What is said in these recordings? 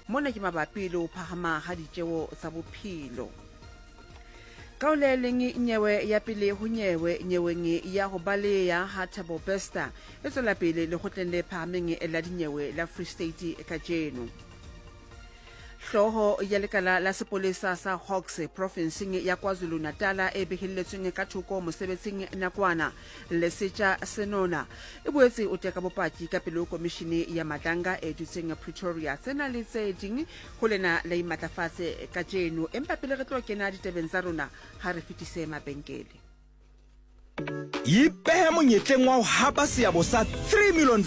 Mona ke mabapi le ho phahama ha ditjeo tsa bophelo. Ka ho le leng nyewe ya pele ho nyewe nyeweng ya ho baleya ha Thabo Bester e tswela pele lekgotleng le phahameng la dinyewe la Free State kajeno. Hlooho ya lekala la sepolesa sa Hawks profenseng ya KwaZulu-Natala e behelletsweng ka thoko mosebetsing nakwana, Lesetja Senona, e boetse o teka bopaki ka pele ho komishene ya Madlanga e dutseng Pretoria. Tsena le tse ding ho lena la imatlafatse kajeno. Empa pele re tlo kena ditabeng tsa rona, ha re fetise mabenkele. Ipehe monyetleng wa ho hapa seabo sa R3 million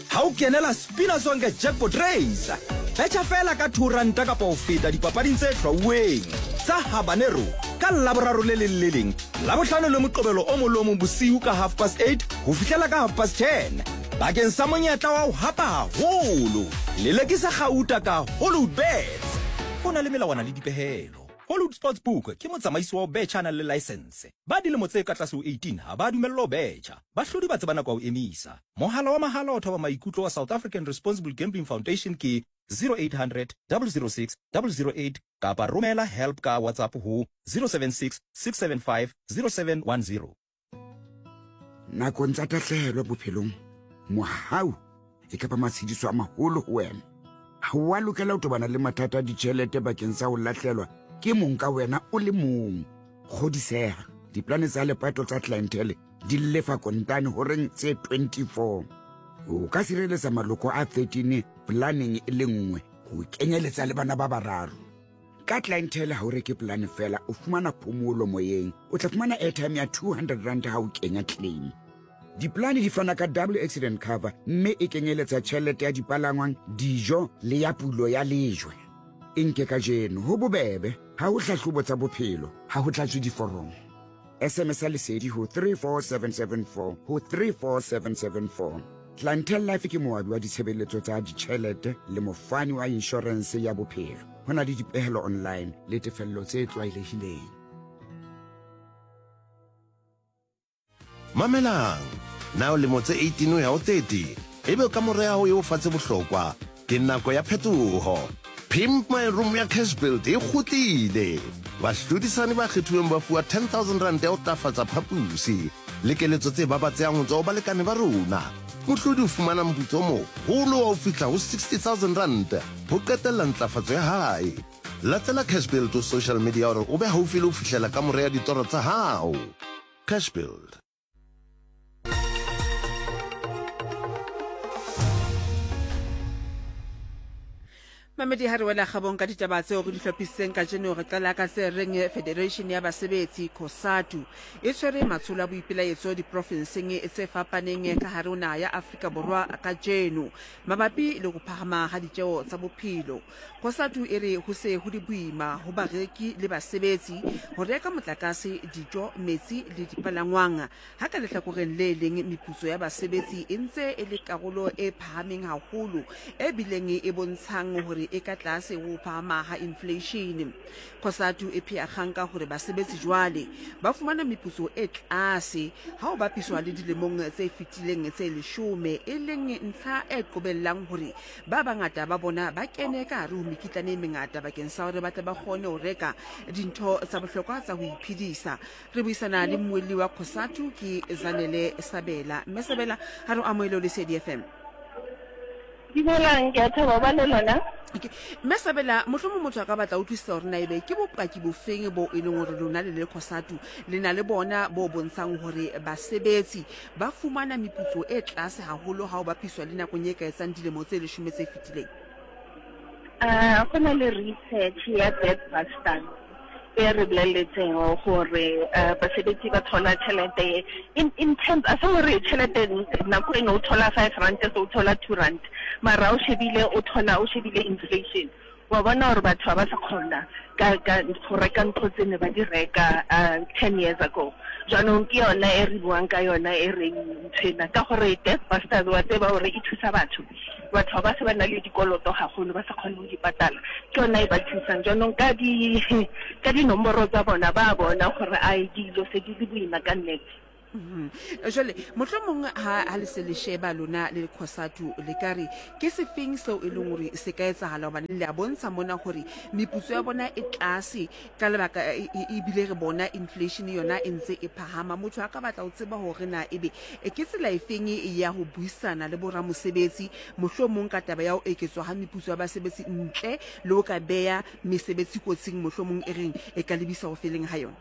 ha o kenela Spina Sonke Jackpot Race. Betjha feela ka R2 kapa ho feta dipapading tse hlwauweng tsa Habanero ka Laboraro le leng le leng, Labohlano le Moqebelo o mong le o mong bosiu ka half past eight ho fihlela ka half past ten bakeng sa monyetla wa ho hapa haholo. Lelekisa kgauta ka Hollywood Bets. Ho na le melawana le dipehelo. Hollywood Sportsbook ke motsamaisi wa ho betjha a nang le laesense. Ba dilemo tse ka tlase ho 18 ha ba dumellwa ho betjha. Bahlodi ba tseba nako ya ho emisa. Mohala wa mahala wa thoba maikutlo wa South African Responsible Gambling Foundation ke 0800 006 008 kapa romela help ka WhatsApp ho 076 675 0710. Nakong tsa tahlehelo bophelong, mohau e ka ba matshediso a maholo ho wena. Ha o a lokela ho tobana le mathata a ditjhelete bakeng sa ho lahlelwa ke mong ka wena o le mong. Kgodiseha, diplane tsa lepato tsa Clientele di lefa kontane horeng tse 24. O ka sireletsa maloko a 13 polaneng e le nngwe ho kenyeletsa le bana ba bararo. Ka Clientele ha o reke polane fela, o fumana phomolo moyeng. O tla fumana airtime ya 200 rand ha o kenya claim. Diplane di fana ka double accident cover mme e kenyeletsa tjhelete ya dipalangwang, dijo le ya pulo ya lejwe. E nke kajeno, ho bobebe, ha ho hlahlobo tsa bophelo, ha ho tlatswe diforomo. SMS ya Lesedi ho 34774 ho 34774. Clientele Life ke moabi wa ditshebeletso tsa ditjhelete le mofani wa inshorense ya bophelo. Ho na le dipehelo online le tefello tse tlwaelehileng. Mamelang! Na o lemo tse 18 ho ya ho 30? Ebe kamore ya hao e o fa tse bohlokwa? Ke nako ya phetoho! Pimp My Room ya Cashbuild e kgutlile! Bahlodisani ba kgethuweng ba fuwa R10,000 ya ho tlafatsa phapusi le keletso tse babatsehang ho tswa ho balekane ba rona. Mohlodi o fumana moputso o moholo wa ho fihla ho R60,000 ho qetella ntlafatso ya hae. Latela Cashbuild ho social media hore o be haufi le ho fihlela kamore ya ditoro tsa hao. Cashbuild. Mamedi ha re wela kgabong ka ditaba tseo re di hlophisitseng kajeno, re qala ka se reng Federation ya Basebetsi, COSATU, e tshwere matsholo a boipelaetso diprofenseng tse fapaneng ka hare ho naha ya Afrika Borwa kajeno mabapi le ho phahama ha ditjeo tsa bophelo. COSATU e re ho se ho le boima ho bareki le basebetsi ho reka motlakase, dijo, metsi le dipalangwang, Ha ka lehlakoreng le leng meputso ya basebetsi e ntse e le karolo e phahameng haholo e bileng e bontshang hore e ka tlase ho phahama ha infleishene. Cosatu e phea kgang ka hore basebetsi jwale ba fumana meputso e tlase ha ho bapiswa le dilemong tse fetileng tse leshome, e leng ntlha e qobellang hore ba bangata ba bona ba kene ka hare ho mekitlane e mengata bakeng sa hore ba tle ba kgone ho reka dintho tsa bohlokwa tsa ho iphedisa. Re buisana le mmuelli wa Cosatu ke Zanele Sabela. Mme Sabela, ha re o amohele o Lesedi FM. Dumelang, ke a thaba ba le lona. Okay. Mme Sabela, mohlomong motho a ka batla utlwisisa hore na ebe ke bopaki bofeng bo e leng hore lona le le Cosatu le na le bona bo bontshang hore basebetsi ba fumana meputso e tlase haholo ha o bapiswa le nakong e ka etsang dilemo tse leshome tse fetileng. Go na le research ya Debt Busters e re boleletseng gore basebetsi ba thola tšhelete in terms a se gore tšhelete nako eno o thola R5 so o thola R2, mara o shebile o thola o shebile inflation, wa bona gore batho ga ba sa kgona ka ka go reka ntho tse ne ba di reka 10 years ago. Jaanong ke yona e re buang ka yona e reng nthwena ka gore Debt Busters wa tseba gore e thusa batho. Batho ba se ba na le dikoloto gagolo ba sa kgone go di patala, ke yona e ba thusang. Jaanong ka di ka dinomoro tsa bona ba bona gore a dilo se di le boima ka nnete. Mhm. Jwale mohlomong ha ha le se le sheba lona le Cosatu le ka re ke sefeng seo e leng hore se ka etsahala hobane le a bontsha mona hore meputso ya bona e tlase ka lebaka e, e, ebile re bona inflation yona e ntse e phahama. Motho a ka batla ho tseba hore na ebe e ke tsela efeng ya ho buisana le boramosebetsi mohlomong ka taba ya ho eketswa ha meputso ya basebetsi ntle le ho ka beya mesebetsi kotsing mohlomong e reng e ka lebisa ho feleng ha yona.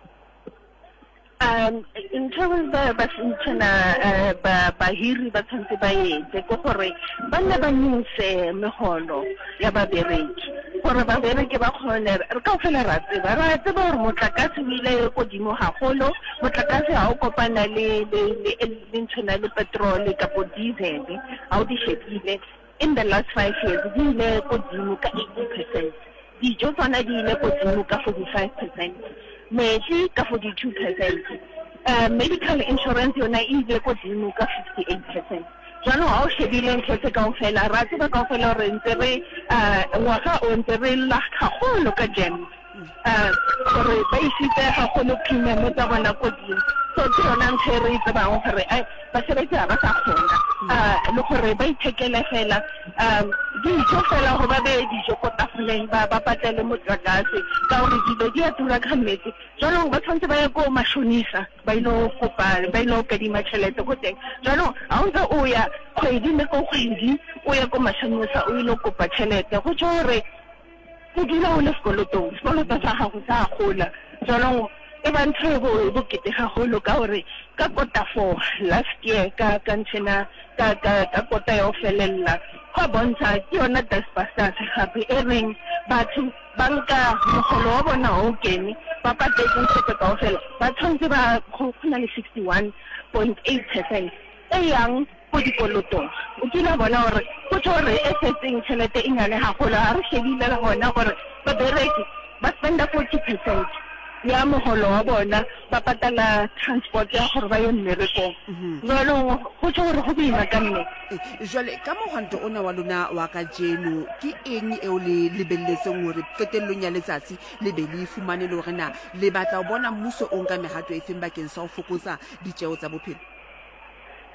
Um ntho ba ba nthwena eh, ba bahiri ba tshwanetse ba etse ke gore ba nne ba nyose megolo ya babereki gore babereki ba kgone re kaofela ra tseba ra tseba gore motlakase o ile kodimo gagolo motlakase ga o kopana le le le le nthwena le petrol kapo diesel ga o di shebile in the last 5 years di ile kodimo ka 80%. Dijo tsona di ile godimo ka 45 percent, metsi ka 42 percent, medical insurance yona e ile godimo ka 58 percent. Jaanong ga o shebile ntho tse kaofela, ra tseba kaofela gore ntse re ngwaga o ntse re lla gagolo ka GEMS gore ba isitse gagolo premium tsa bona kodimo. So ke yona ntho e re e tsebang gore basebetsi ga ba sa kgona le gore ba ithekele fela Um dijo fela gore ba beye dijo ko tafoleng ba ba patele motlakase ka gore dilo di a tura ka nnete. Jaanong ba tshwanetse ba ye ko mashonisa ba ile kopa ba ile kadima tšhelete ko teng. Jaanong ga o ntse o ya kgwedi le ko kgwedi o ya ko mashonisa o ile kopa tšhelete go tšho gore O dula o le sekolotong, sekoloto sa gago sa gola. Jaanong e ba ntho e bo e bokete gagolo ka gore ka kota four last year ka ka nthena ka ka ka kota ya go felelela go a bontsha ke yona dustbusters gape e reng batho ba nka mogolo wa bona o kene ba patetse ntho tse kaofela ba tshwanetse ba go na le 61.8% e yang ko dikolotong. O kile wa bona gore go tjho gore e setseng tšhelete e nyane haholo. Ha re shebile le gona gore babereki ba spenda 40 percent ya mogolo wa bona ba patala transport ya gore ba ye mmerekong. Jwalo go tjho gore go boima ka nnete. Jwale ka mohwanto ona wa lona wa kajeno, ke eng eo le lebelletseng hore qetellong ya letsatsi le be le e fumane, le hore na le batla ho bona mmuso o nka mehato efeng bakeng sa ho fokotsa ditjeo tsa bophelo?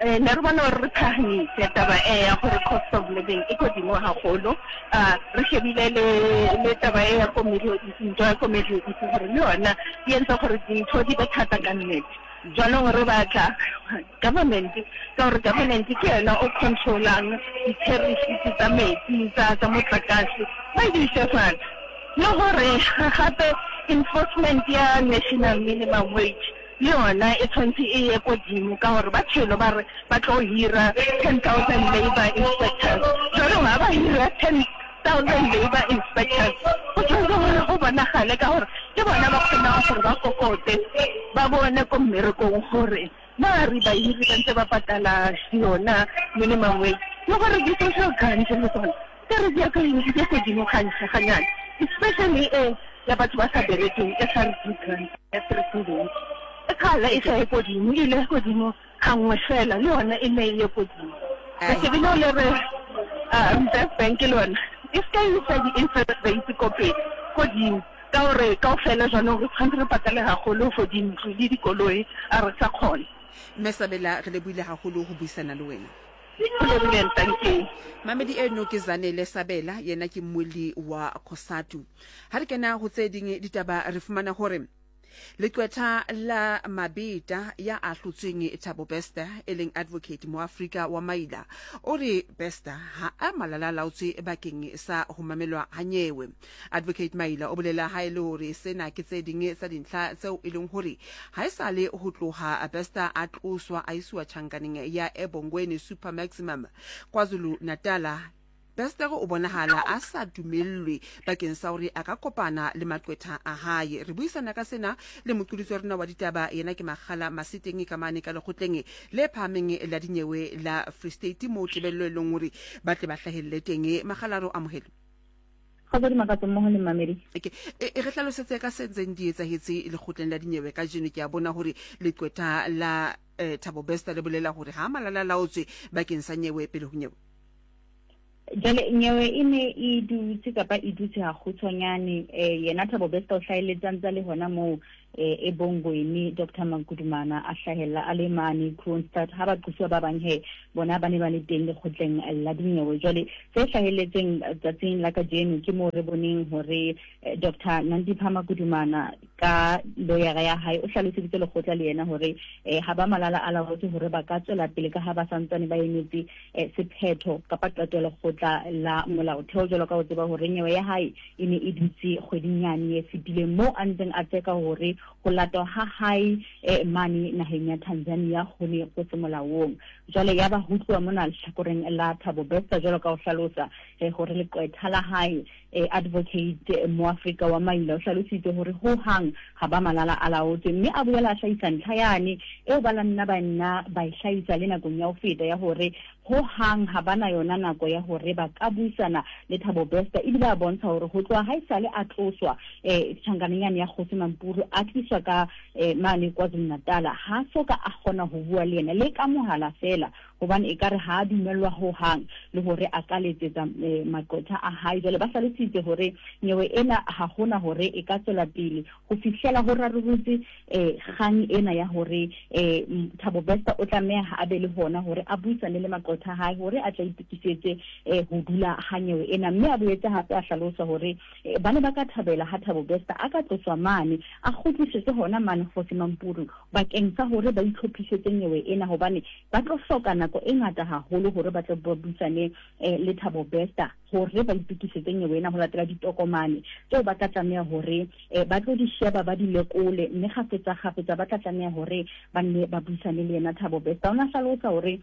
Eh, ne re bona gore re phahamise taba e ya gore cost of living e kodimo haholo. Ah, re shebile le le taba e ya ko Middle East, ntwa ya ko Middle East gore le yona e entse gore dintho di be thata ka nnete. Jwanong re batla government, ka gore government ke yona o controlang di-tariffs tsa metsi, tsa tsa motlakase, ba di ise fatshe. Le gore gape enforcement ya national minimum wage Le yona e tshwanetse e ye kodimo ka gore ba tshelo ba re ba tlo hira 10,000 labour inspectors. Jwanong ha ba hira 10,000 labour inspectors go tshwanetse gore go bonagale ka gore ke bona ba kgonang gore ba kokote ba bone ko mmerekong gore na re bahiri ba ntse ba patala yona minimum wage le gore di-social grant le tsona Ke re di ya godimo ganyane, especially e ya batho ba sa berekeng, SRD grant ya 3 e kgale e sa ye godimo, e ile godimo gangwe fela, le yona e ne e ye godimo. Re shebile le re Reserve Bank le yona e se ka isa di-interest rates ko pele godimo, ka gore kaofela jaanong re tshwanetse re patale gagolo for dintlo le dikoloi, a re sa kgona. Mme Sabela, re lebohile haholo ho buisana le wena. Go lebohile, ntanke. Mamedi eno ke Zanele Sabela, yena ke mmuelli wa Cosatu. Ha re kena ho tse ding ditaba re fumana hore leqwetha la Mabeta ya ahlotsweng Thabo Bester e leng Advocate Moafrika wa Maila o re Bester ha a malala-laotswe bakeng sa ho mamelwa ha nyewe. Advocate Maila o bolela ha e le hore sena ke tse ding tsa dintlha tseo e leng hore ha e sa le ho tloha Bester a tloswa a isiwa tjhankaneng ya Ebongweni Super Maximum KwaZulu-Natala. Bester o bonahala a sa dumellwe bakeng sa hore a ka kopana le maqwetha a hae. Re buisana ka sena le moqolotsi wa rona wa ditaba, yena ke Makgala Maseteng ka mane ka lekgotleng le phahameng la dinyewe la Free State moo tebello e leng hore ba tle ba hlahelle teng. Makgala, re o amohele. Kgotso Dimakatso mmoho le mmamedi. Okay. E, e re hlalosetse ka se ntseng di etsahetse lekgotleng la dinyewe kajeno. Ke a bona hore leqwetha la eh, Thabo Bester le bolela hore ha malala laotswe bakeng sa nyewe pele ho nyewe. Jwale nyewe e ne e dutse kapa e dutse hakgutshwanyane. Eh, yena Thabo Bester o hlahelletse a ntse a le hona moo. eh, e Bongweni Dr Magudumana a hlahella a le mane Kroonstad ha baqosuwa ba bang he bona ba ne ba le teng lekgotleng la dinyewe. Jwale tse hlahelletseng tsatsing la kajeno ke moo re boneng hore eh, Dr Nandipha Magudumana ka loyara ya hae o hlaloseditse lekgotla le yena hore eh, ha ba malala a laotse hore ba ka tswela pele ka ha ba santsane ba emetse eh, sephetho kapa qeto ya lekgotla la molaotheo jwalo ka ho tseba hore nyewe ya hae e ne e dutse kgweding yane e fetileng moo a ntseng a tseka hore ho latwa ha hae eh, mane naheng ya Tanzania ho ne go se molaong. Jwale ya ba ho tluwa mona lehlakoreng la Thabo Bester jwalo ka ho hlalosa eh, hore leqwetha la hae eh, advocate Moafrika wa Maila o hlalositse hore ho hang ha ba malala a laotswe, mme a boela a hlahisa ntlha yane eo ba la nna ba nna ba e hlahisa le nakong ya ho feta ya hore ho hang ha ba na yona nako ya hore ba ka buisana le Thabo Bester, ebile a bontsha hore ho tloha ha esale a tloswa eh tjhankaneng yane ya Kgosi Mampuru a tliswa ka eh, mane KwaZulu-Natal, ha so ka a kgona ho bua le yena le ka mohala feela, hobane ekare ha a dumellwa ho hang le hore a ka letsetsa eh, maqwetha a hae. Jwale ba hlalositse hore nyewe ena ha hona hore e ka tswela pele ho fihlela ho rarolotse eh, kgang ena ya hore eh, Thabo Bester o tlameha a be le hona hore a buisane le maqwetha a hae hore a tla itokisetse eh, ho dula ha nyewe ena. Mme a boetse hape a hlalosa hore eh, ba ne ba ka thabela ha Thabo Bester a ka tloswa mane a kgutlisetswe hona mane Kgosi Mampuru bakeng sa hore ba itlhophisetse nyewe ena, hobane ba tlo hloka nako e ngata haholo hore ba tle ba buisane eh, le Thabo Bester hore ba itokisetse nyewe ena ho latela ditokomane tseo ba tla tlameha hore eh, ba tlo di sheba ba di lekole, mme kgafetsa kgafetsa ba tla tlameha hore ba nne ba buisane le yena Thabo Bester. O ne a hlalosa hore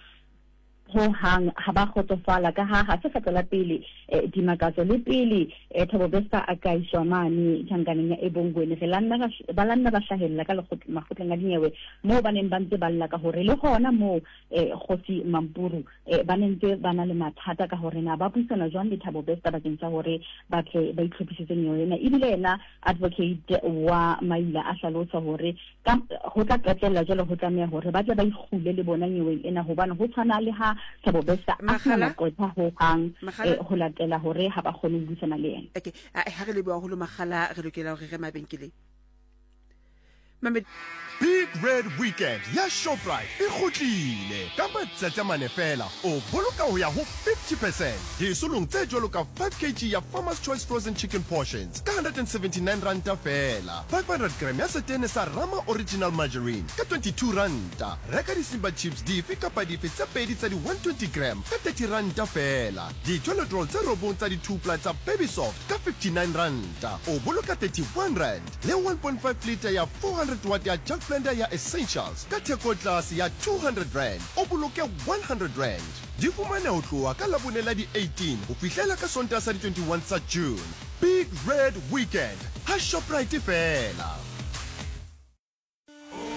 ho hang ha ba kgotsofala ka ha ha se kgetlo la pele eh, dimakatso le pele eh, Thabo Bester a ka iswa mane tjhankaneng ya Ebongweni. Re la nna ba la nna ba hlahella ka makgotleng a dinyewe moo ba neng ba ntse ba lla ka hore le hona moo eh, Kgosi Mampuru eh, ba ne ntse ba na le mathata ka hore na ba buisana jwang le Thabo Bester bakeng sa hore ba tle ba itlhophisetse nyewe ena. Ebile yena advocate wa Maila a hlalosa hore Ka, ho tla qetella jwale ho tlameha hore ba tle ba ikgule le bona nyeweng ena, hobane ho tshwana le ha Thabo Bester a sena Makgala, maqwetha ho hang Makgala. eh, ho latela hore ha ba kgone ho buisana le yena. Okay, a ha re leboha haholo Makgala, re lokela hore re mabenkeleng. Mamed Big Red Weekend ya Shoprite e kgutlile! Ka matsatsi a mane feela, o boloka ho ya ho 50 percent disolong tse jwalo ka 5 kg ya Farmer's Choice Frozen Chicken Portions ka 179 ranta feela, 500 gram ya setene sa Rama Original Margarine ka 22 ranta, reka di-Simba Chips dife kapa dife tse pedi tsa di-120 gram ka 30 ranta feela, di-toilet roll tse robong tsa di-two-ply tsa Baby Soft ka 59 ranta, o boloka 31 rand, le 1.5 litre ya 400 watt ya Jug Blender ya Essentials ka theko tlase ya 200 rand, o boloke 100 rand. Di fumane ho tloha ka Labone la di 18 ho fihlela ka Sontaha sa di 21 tsa June. Big Red Weekend ha Shoprite feela.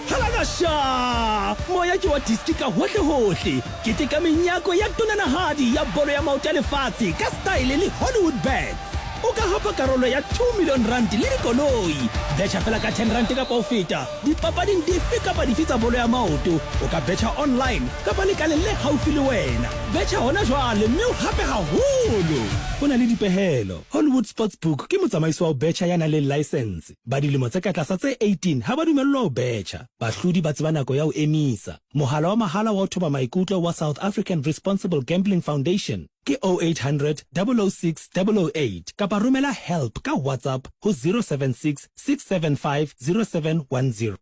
Halakasha! Moya ke wa diski ka hohle-hohle. Keteka menyako ya tonanahadi ya bolo ya maoto ya lefatshe ka style le Hollywood Bets. O ka hapa karolo ya 2 million rand le dikoloi. Betjha fela ka 10 rand kapa ho feta dipapading dife kapa dife tsa bolo ya maoto. O ka betjha online kapa lekaleng le haufi le wena. Betjha hona jwale mme o hape haholo. Ho na le dipehelo. Hollywood Sportsbook ke motsamaisi wa ho betjha ya nang le laesense. Ba dilemo tse ka tlasa tse 18 ha ba dumellwa ho betjha. Bahlodi ba tseba nako ya ho emisa. Mohala wa mahala wa ho thoba maikutlo wa South African Responsible Gambling Foundation ke 0800 006 008 kapa romela help ka WhatsApp ho 076 675 0710.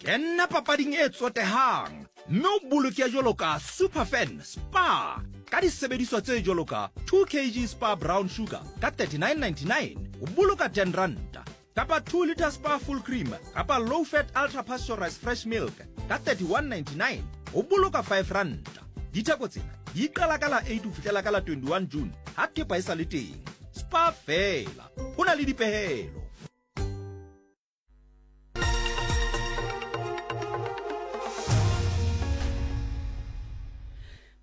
Kena papading e tsotehang mme o boloke jwalo ka Superfan Spar ka disebediswa tse jwalo ka 2 kg Spar Brown Sugar ka 39.99 o boloka 10 ranta kapa 2 litre Spar Full Cream kapa Low Fat Ultra Pasteurized Fresh Milk ka 31.99 o boloka 5 ranta. Ditheko tsena di qala ka la 8 ho fihlela ka la 21 June ha thepa e sa le teng. Spar feela, ho na le dipehelo.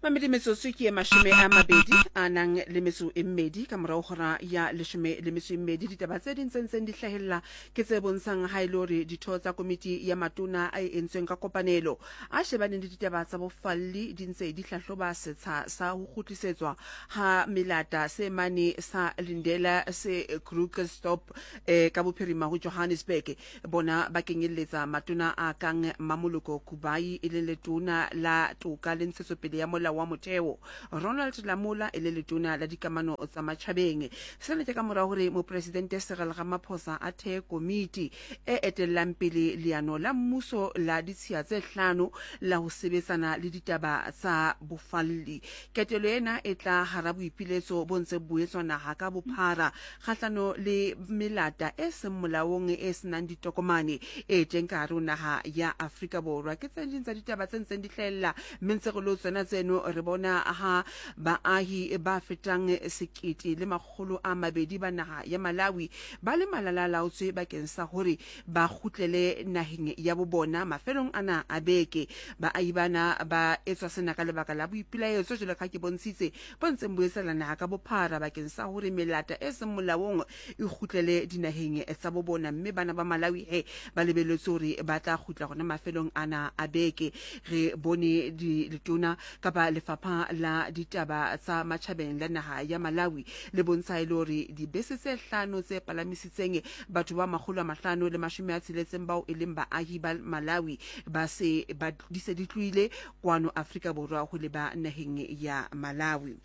Mamedi metsotso ke e mashome a mabedi a nang le metso e mmedi ka morago hora ya leshome le metso e mmedi. Ditaba tse ding tse ntseng di hlahella ke tse bontshang ha e le hore ditho tsa komiti ya matona a e entsweng ka kopanelo a shebaneng le ditaba tsa bofalli di ntse di hlahloba setsha sa ho kgutlisetswa ha melata se mane sa Lindela se Krugersdorp eh, ka bophirima ho Johannesburg. Bona ba kenyelletsa matona a kang Mmamoloko Kubayi e leng letona la Toka le Ntshetsopele ya Molao wa Motheo, Ronald Lamola e le letona la Dikamano tsa Matjhabeng. Sena ke ka mora hore Mopresidente Cyril Ramaphosa a thee komiti e etellang pele leano la mmuso la ditshiya tse hlano la ho sebetsana le ditaba tsa bofalli. Ketelo ena e tla hara boipiletso bo ntseng bo etswa naha ka bophara kgahlano le melata e seng molaong e se nang ditokomane e teng ka hare ho naha ya Afrika Borwa. Ke tse ding tsa ditaba tse ntseng di hlahella, mme ntse re lo tsona tseno re bona ha baahi ba fetang 1200 ba naha ya Malawi ba le malala-a-laotswe bakeng sa hore ba kgutlele naheng ya bo bona mafelong ana a beke. Baahi bana ba etswa sena ka lebaka la boipelaetso jwalo ka ha ke bontshitse bo ntseng bo etsahala naha ka bophara bakeng sa hore melata e seng molaong e kgutlele dinaheng tsa bo bona, mme bana ba Malawi he ba lebelletswe hore ba tla kgutla hona mafelong ana a beke. Re bone letona kapa lefapha la ditaba tsa matjhabeng la naha ya Malawi le bontsha e le hore dibese tse hlano tse palamisitseng batho ba 560 bao e leng baahi ba Malawi ba se ba di se di tlohile kwano Afrika Borwa ho leba naheng ya Malawi.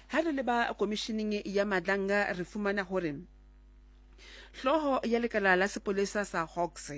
Ha re leba komishining ya Madlanga re fumana hore hlooho ya lekala la sepolesa sa Hawks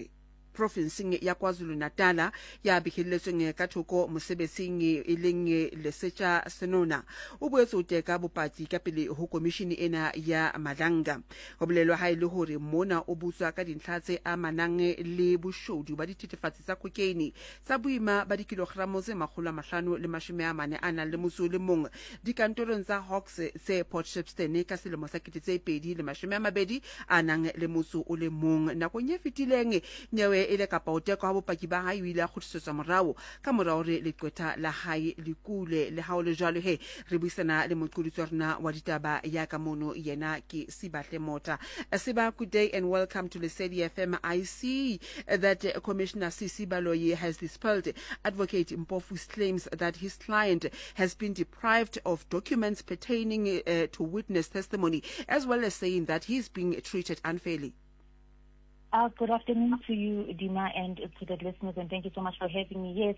profinseng ya KwaZulu-Natala ya behelletsweng ka thoko mosebetsing e leng Lesetja Senona o boetse o teka bopaki ka pele ho komishini ena ya Madlanga. Ho bolelwa ha e le hore mona o botswa ka dintlha tse amanang le boshodu ba dithethefatsi tsa cocaine tsa boima ba dikilogramo tse 540 a nang le motso o le mong dikantorong tsa Hawks tse Port Shepstone ka selemo sa 2020 a nang le motso o le mong. Nakong e fetileng, nyewe e le kapa ho tekwa ha bopaki ba hae o ile a kgutlisetswa morao ka mora hore leqwetha la hae le kule. Le ha ho le jwalo he, re buisana le moqolotsi wa rona wa ditaba ya ka mono, yena ke Sibahle Mota. Siba, good day and welcome to Lesedi FM. I see that Commissioner Sisi Baloyi has dispelled Advocate Mpofu's claims that his client has been deprived of documents pertaining uh, to witness testimony, as well as saying that he is being treated unfairly. Uh, good afternoon to you, Dima, and to the listeners, and thank you so much for having me. Yes,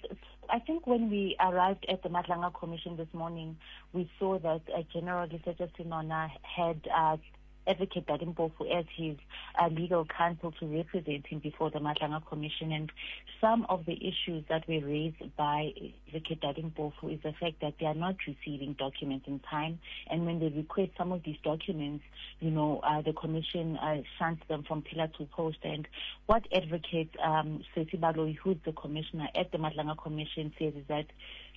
I think when we arrived at the Madlanga Commission this morning, we saw that uh, General Lesetja Senona had uh, Advocate Dali Mpofu as his uh, legal counsel to represent him before the Madlanga Commission. And some of the issues that were raised by Advocate Dali Mpofu is the fact that they are not receiving documents in time. And when they request some of these documents, you know, uh, the commission uh, shunts them from pillar to post. And what Advocate um, Sesi Baloyi, who's the commissioner at the Madlanga Commission, says is that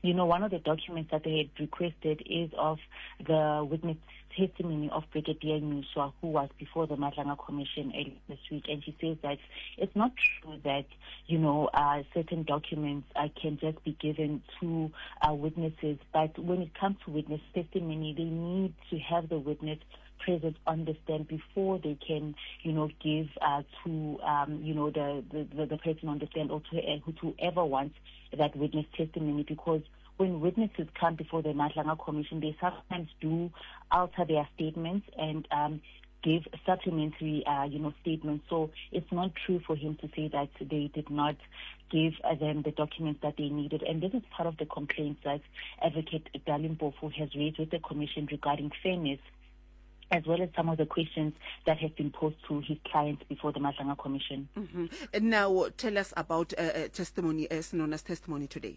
you know, one of the documents that they had requested is of the witness testimony of Brigadier Nyuswa, who was before the Madlanga Commission earlier this week. And she says that it's not true that, you know, uh, certain documents uh, can just be given to uh, witnesses. But when it comes to witness testimony, they need to have the witness present on the stand before they can, you know, give uh, to, um, you know, the, the, the person on the stand or to, uh, to whoever wants that witness testimony because when witnesses come before the Madlanga Commission, they sometimes do alter their statements and um, give supplementary, uh, you know, statements. So it's not true for him to say that they did not give uh, them the documents that they needed. And this is part of the complaints that Advocate Dali Mpofu has raised with the commission regarding fairness as well as some of the questions that have been posed to his clients before the Madlanga Commission. Mm -hmm. Now, tell us about uh, uh, testimony, uh, Senona's testimony today.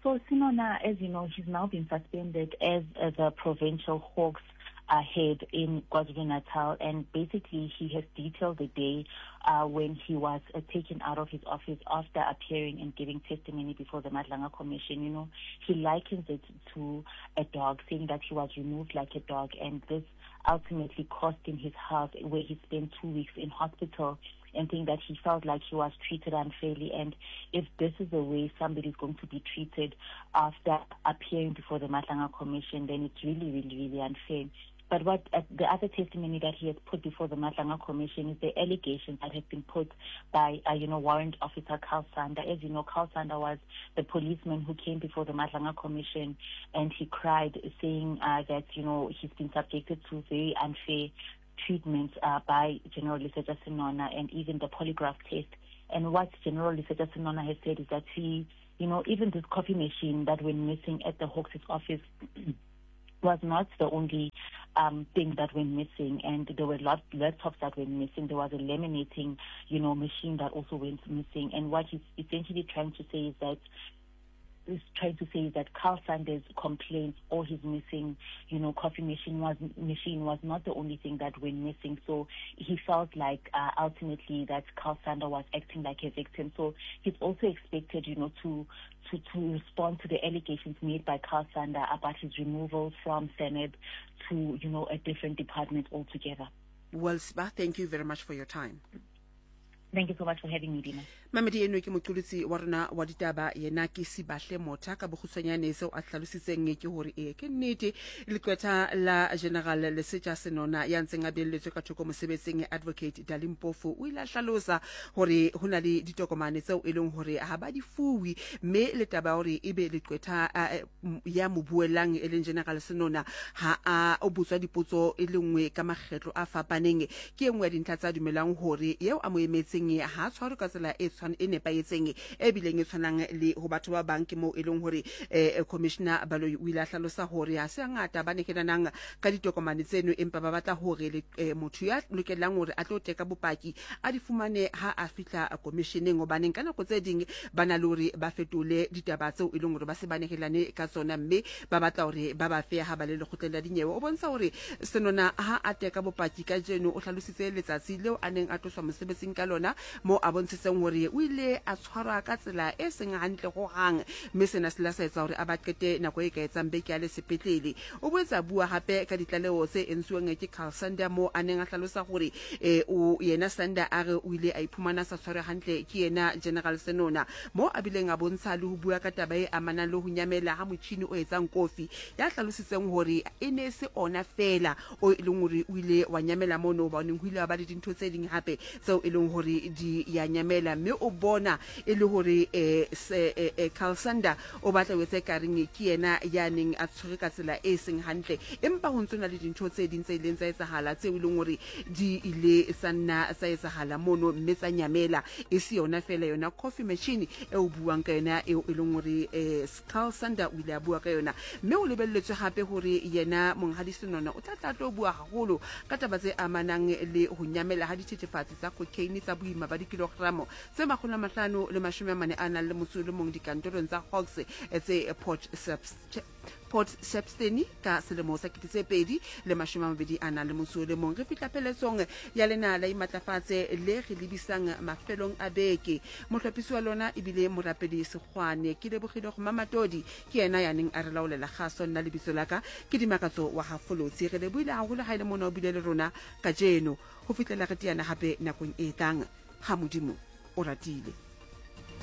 So Senona, as you know, he's now been suspended as uh, the provincial Hawks uh, head in KwaZulu-Natal, and basically he has detailed the day uh, when he was uh, taken out of his office after appearing and giving testimony before the Madlanga Commission. You know, he likens it to a dog, saying that he was removed like a dog, and this ultimately cost him his health, where he spent two weeks in hospital. and think that he felt like he was treated unfairly. And if this is the way somebody is going to be treated after appearing before the Madlanga Commission, then it's really, really, really unfair. But what uh, the other testimony that he has put before the Madlanga Commission is the allegations that have been put by, uh, you know, Warrant Officer Carl Sander. As you know, Carl Sander was the policeman who came before the Madlanga Commission and he cried, saying uh, that, you know, he's been subjected to very unfair treatment uh, by General Lesetja Senona and even the polygraph test. And what General Lesetja Senona has said is that he, you know, even this coffee machine that went missing at the Hawks' office was not the only um, thing that went missing, and there were lot, laptops that went missing. There was a laminating, you know, machine that also went missing. And what he's essentially trying to say is that is trying to say that Carl Sanders' complaints or his missing, you know, coffee machine was machine was not the only thing that went missing. So he felt like uh, ultimately that Carl Sander was acting like a victim. So he's also expected, you know, to to to respond to the allegations made by Carl Sander about his removal from Senate to, you know, a different department altogether. Well, Sba, thank you very much for your time. Thank you so much for having me, Dina. Mamedi eno ke moqolotsi wa rona wa ditaba yena ke Sibahle Motha ka bokgutshwanyane seo a hlalositseng ke hore ee ke nnete leqwetha la General Lesetja Senona ya ntseng a beelletswe ka thoko mosebetsing Advocate Dali Mpofu o ile a hlalosa hore ho na le ditokomane tseo e leng hore ha ba di fuwe mme le taba ya hore ebe leqwetha ya mo buellang e leng General Senona ha a o botswa dipotso e le nngwe ka makgetlo a fapaneng ke e nngwe ya dintlha tsa dumelang hore eo a mo emetseng ha a tshwarwe ka tsela e tshwan e nepahetseng e bileng e tshwanang le ho batho ba bang ke moo e leng hore eh, Commissioner Baloyi o ile a hlalosa hore ha se hangata ba nehelanang ka ditokomane tseno empa ba batla hore le, eh, motho ya lokelang hore a tlo teka bopaki a di fumane ha a fihla komisheneng hobaneng ka nako tse ding ba na le hore ba fetole ditaba tseo e leng hore ba se ba nehelane ka tsona mme ba batla hore ba ba fe ha ba le lekgotleng la dinyewe. O bontsha hore Senona ha a teka bopaki kajeno o hlalositse letsatsi leo a neng a tloswa mosebetsing ka lona moo a bontshitseng hore o ile a tshwarwa ka tsela e seng hantle hohang mme sena se ile sa etsa hore a ba qete nako e ka etsang beke a le sepetlele. O boetse a bua hape ka ditlaleho tse entsuweng ke Carl Sander moo a neng a hlalosa hore e, o yena Sander a re o ile a iphumana a sa tshwarwe hantle ke yena General Senona moo a bileng a bontsha le ho bua ka taba e amanang le ho nyamela ha motjhini o etsang kofi ya hlalositseng hore e ne e se ona feela o e leng hore o ile wa nyamela mono hobaneng ho ile wa ba le dintho tse ding hape tseo e leng hore di ya nyamela mme o bona e le hore eh, se, eh, eh, Carl Sander o batla ho etsa ekareng ke yena ya neng a tshwere ka tsela e seng hantle empa ho ntso na le dintho tse ding tse ileng tsa etsahala tseo e leng hore di ile tsa nna tsa etsahala mono mme tsa nyamela e se yona fela yona coffee machine e o buang ka yona eo e leng hore eh, Carl Sander o ile a bua ka yona mme o lebelletswe hape hore yena monghadi Senona o tla tla tlo bua haholo ka taba tse amanang le ho nyamela ha dithethefatsi tsa cocaine tsa boima ba dikilogramo tse 540 a nang le motso o le mong dikantorong tsa Hawks tse Port Port Shepstone ka selemo sa 2021 a nang le motso o le mong. Re fihla pheletsong ya lena la Imatlafatse le re lebisang mafelong a beke. Mohlophisi wa lona ebile Morapedi Sekgwane. Ke lebogile go Mamatodi, ke yena ya neng a re laolela kgaso. Nna lebitso la ka ke Dimakatso wa ga Folotsi. Re lebohile haholo ha e le mona o bile le rona kajeno. Ho fihlela re teana hape nakong e tlang, ha Modimo o ratile.